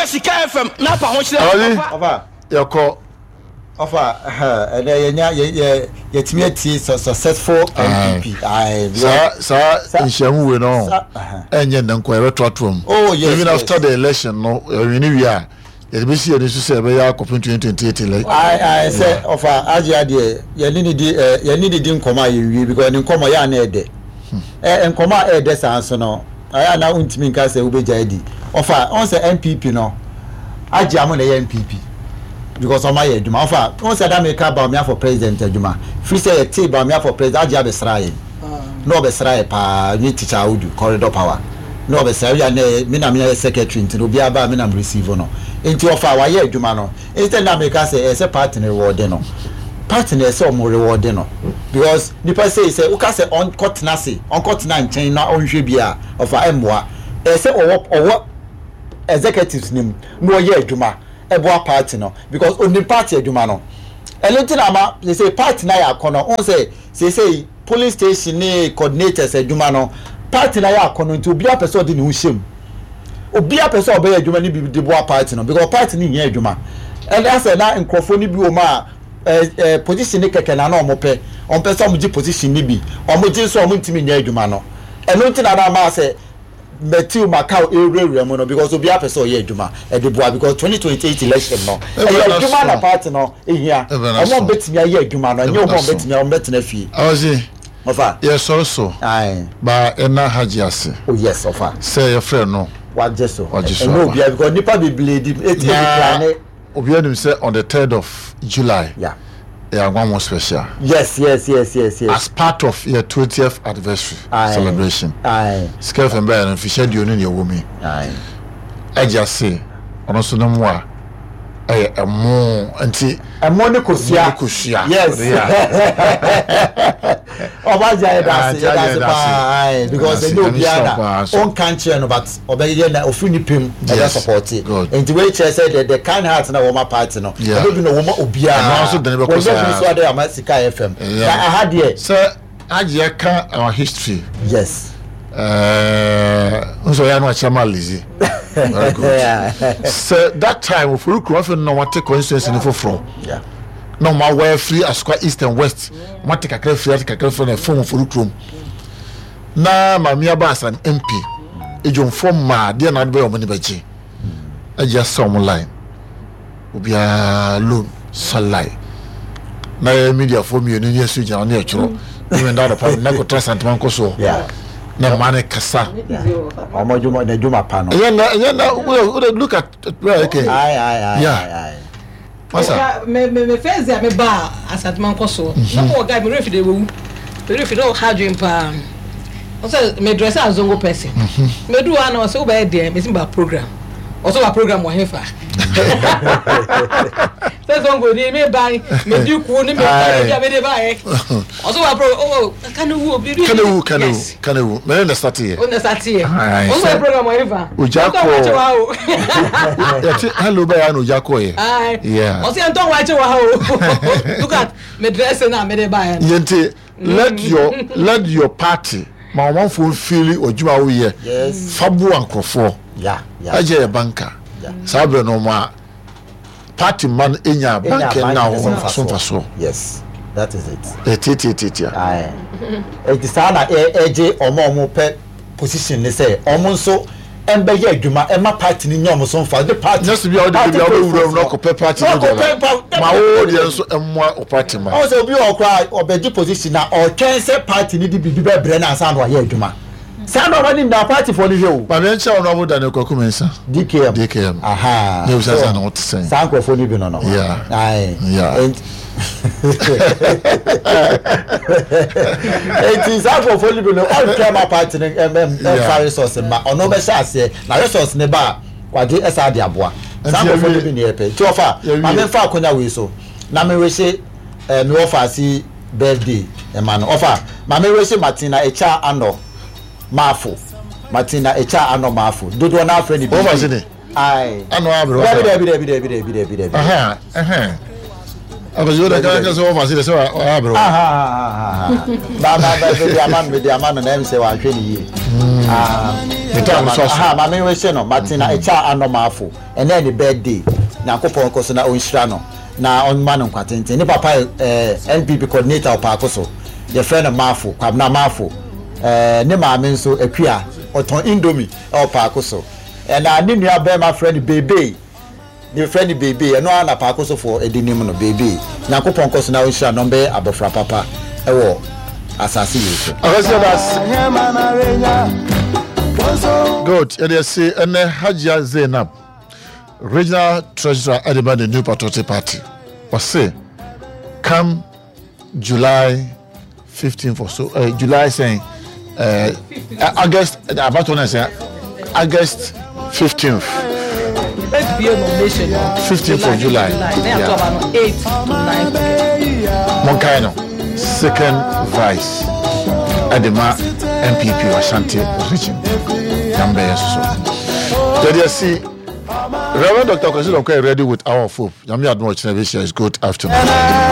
Wopɛ Sika FM na apa ho kyerɛ papa. Yɛkɔ. Ɔfa ɛnɛ yɛnya yɛ yɛ yɛtumi atie successful NPP. Saa saa nhyiamu wei no ɛnyɛ nnɛ nko yɛbɛtoatoa mu. Oh yes. Even after the election no yɛwini wie a yɛde bɛsi yɛn ani so sɛ yɛbɛyɛ akɔpem 2028 election. Ayi ayi sɛ ɔfa agye adeɛ yɛne ne di ɛ yɛne ne di nkɔmɔ a yɛnwie because ne nkɔmɔ yɛ a na ɛdɛ. Ɛ nkɔmɔ a ɛɛdɛ saa nso no ayɛ a na wontumi nka sɛ wobɛgyae adi. Ɔfa ɔn sɛ NPP no agye amo na ɛyɛ NPP because ɔmo ayɛ adwuma. Ɔfa ɔn sɛ da meka Bawumia for president adwuma firi sɛ yɛtee Bawumia for president agye abɛsra yɛn na ɔbɛsra yɛ paa ne teacher Audu corridor power na ɔbɛsra yɛ na me na meyɛ secretary nti no obiara ba a me na me receive no nti ɔfa wayɛ adwuma no. Instead na meka sɛ ɛsɛ party no reward no party no ɛsɛ ɔmo reward no because nipa sei sɛ woka sɛ ɔnkɔ tena ase ɔnkɔ tena nkyɛn na ɔnhwɛ bi a ɔfa ɛmmoa ɛsɛ ɔwɔ ɔwɔ executives no mu na ɔyɛ adwuma ɛboa party no because onim party adwuma no ɛno nti na ama sese party no ayɛ akɔnɔ wohu sɛ sese polling station ne coordinators adwuma no party no ayɛ akɔnɔ nti obiara pɛ sɛ ɔde ne ho hyɛ mu. Obiara pɛ sɛ ɔbɛyɛ adwuma no bi de boa party no because party no hia adwuma. Ɛna sɛ na nkurɔfoɔ no bi wɔ mu a ɛɛ ɛɛ position no kɛkɛ na na wɔn pɛ. Wɔn pɛ sɛ wɔn gye position no bi. Wɔn gye nso a wɔn ntumi nyɛ adwuma no. Ɛno nti na na ama sɛ Matthew Macau ɛrewurawura mu no because obiara pɛ sɛ ɔyɛ adwuma ɛde boa because 2028 election no ɛyɛ adwuma na party no hia. Wɔn a wɔbɛtumi ayɛ adwuma no ɛnyɛ wɔn a wɔbɛtumi a wɔbɛtena fie. Awɔse. Ɔfa. Yɛsɔre so. Aye. Ba ɛna Hajji ase. Oh yes, ɔfa. Sɛ yɛfrɛ no. Wagye so. Wagye so Ɛnyɛ aba. obiara because nipa bebree di eti Na decline. obiara nim sɛ on the third of July. Yeah. Ɛyɛ Anwanwo special. Yes, yes, yes, yes, yes. As part of yɛ 20th anniversary Aye. celebration. Aye. Sika FM bɛyɛ no mfihyia aduonu na ɛwɔ mu yi. Aye. Hajji ase ɔno nso ne mmoa ɛyɛ ɛmo nti. Ɛmo ne kosua. Ɛmo ne kosua. Yes. Ɔba gya yɛ daase yɛ daase paa ayi because ɛnyɛ obiara na ɔnka nkyerɛ no but ɔbɛyɛ na ofiri ne pɛm ɛbɛ support nti wei kyerɛ sɛ the the kind heart na wɔma party no ɛbɛ bi na wɔma obiara wɔnyɛ bi so ade ama sika yɛ fam na aha deɛ. Sɛ agye ka our history. Yes. Nso ɔyɛ ano akyerɛ ma Lizzy. Very good. Sɛ that time ofori kurom afei na wɔate constituency no foforɔ. Na wɔn awɔ afiri Asokwa East and West. Wɔn ate kakra firi ate kakra firi na ɛfam ofori kurom. Na maame aba as an MP. Edwomfoɔ mmaa deɛ na ade bɛyɛ wɔn ani bɛgye. Agye asɛ wɔn line. Obiara loan salai. Na yɛ mediafoɔ mmienu ne yɛso gyina ne yɛtwerɛ. Ne menda anɔpa na kɔtra Santema nkɔ soɔ. Na mmaa no kasa. Ɔmo adwuma na adwuma pa no. Ɛnyɛ na ɛnyɛ na wode look at where okay. Aye aye aye. Yeah. Masa. Me me me first day a me ba Asantema nkɔ soɔ. Na mo wɔ guy me refi de wewu. Me refi na ɔha adwene paa. Ɔsɛ me dress as zongo person. Me du hɔ na ɔsɛ wobɛyɛ deɛ me si ba program. Ɔsɛ wa program wɔ hefa. Sɛ zongo ni me ba me di ku ni me ba bi a me de ba yɛ. Ɔsɛ wa program oh kane wu obi bi. Kane wu kane wu kane wu. Mɛ ne na start yɛ. O na start yɛ. Ɔsɛ wa program wɔ hefa. Ogya kɔ. Yɛte hello bɛyɛ na ogya kɔ yɛ. Yeah. Ɔsɛ yɛn tɔn wa akyi wɔ ha o. Look at me dress na me de ba yɛ. Yɛn ti let your let your party ma ɔmanfoɔ nfili ɔdwuma a woyɛ fa boa nkurɔfoɔ agye yɛ banka saa berɛ no ɔma party ma no nya banka na wɔn so mfasoɔ. Yes, that is it. Ɛtiatiatiatia. Ɛti saa na ɛgye wɔn a wɔn pɛ position ne sɛ wɔn nso ɛmbɛyɛ adwuma ɛma party no nya wɔn so mfa de party. Nyɛ sɛ bi a wode bi a wobɛwura mu na ɔkɔpɛ party no deɛ ma wo deɛ nso mmoa wo party ma. Ɔwɔ sɛ obi wɔ koraa ɔbɛgye position na ɔtwɛn sɛ party no de biribi bɛbrɛ no ansa na wayɛ adwuma. Saa nneɛma no nyinaa party foɔ no hwɛ o. Maame nkyɛn Honourable Daniel Kwaku Mensah. DKM. DKM. Aha. Ne bisa sɛ na wote sɛn. Saa nkurɔfoɔ no bi no no. Yeah. Aye. Yeah. Eti saa nkurɔfoɔ no bi no ɔntwɛn ma party no ɛmfa resource mma ɔno bɛhyɛ aseɛ na resource no ba a wagye ɛsa de aboa. Saa nkurɔfoɔ no bi na yɛpɛ. Nti ɔfa maame nfa akonya wei so na me wehye ɛɛ me wɔfa ase birthday ɛma no ɔfa maame wehye Martina Echa Anɔ Maafo Martina Echa Anɔ Maafo dodoɔ no afrɛ no bi. Wɔfa se ne. Aye. Ano abere Dabi dabi dabi dabi dabi dabi dabi. Aha ɛhɛn. Akɔsi o de kan kɛ sɛ wɔfa se de sɛ wa abere. Aha aha aha. Ba ba ba de ama no de ama no na ɛm sɛ wahwɛ ne yie. Ne time nso aso. Aha, maame wehyɛ no Martina Ɛkya Anɔmaafo. Ɛnɛ ne birthday. Nyankopɔn kɔ so na ɔnhyira no na ɔnma no nkwa tenten. Ne papa yɛ NPP coordinator wɔ Paako so. Yɛfrɛ no Maafo, Kwabena Maafo. Ne maame nso Akua, ɔtɔn indomie ɛwɔ Paako so. Ɛna ne nua bɛrima frɛ no Bebe. Ne frɛ no Bebe, ɛno ara na Paako sofoɔ de nim no, Bebe. Nyankopɔn kɔ so na ɔnhyira no, ɔmbɛyɛ abɔfra papa ɛwɔ asase wei so. Akɔsi ɛda ase. Good. Yɛde ɛse ɛnɛ Hajia Zainab, regional treasurer ɛde ma the New Patriotic Party. Ɔse come July 15th or so, July sɛn, August, abatɔ na sɛn, August 15th. Let's be a nomination. 15th of July. Yeah. 8 to 9. Monkae no, second vice ɛde ma NPP wɔ Ashanti region. Yambɛyɛ soso. Yɛde asi Reverend Dr. Kwesi Donkor ready with Hour of Hope. Nyame adom ɔkyena bɛhyia is good afternoon.